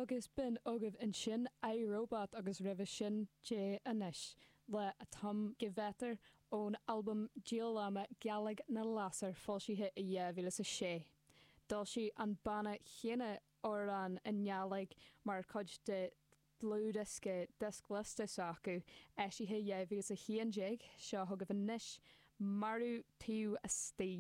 Agus b'in agaibh ansin I, Robot agus roimhe sin Dè Anois le Atom Gewetter ón albam díolama Gealaigh na Lasair foilsithe i 2006. D'fhoilsigh an banna chéanna amhrán i nGàidhlig mar chuid de dhlúthdhiosca Dioscliosta s'acu, eisithe 2011. Seo chugaibh anois Marú Taobh Astoigh.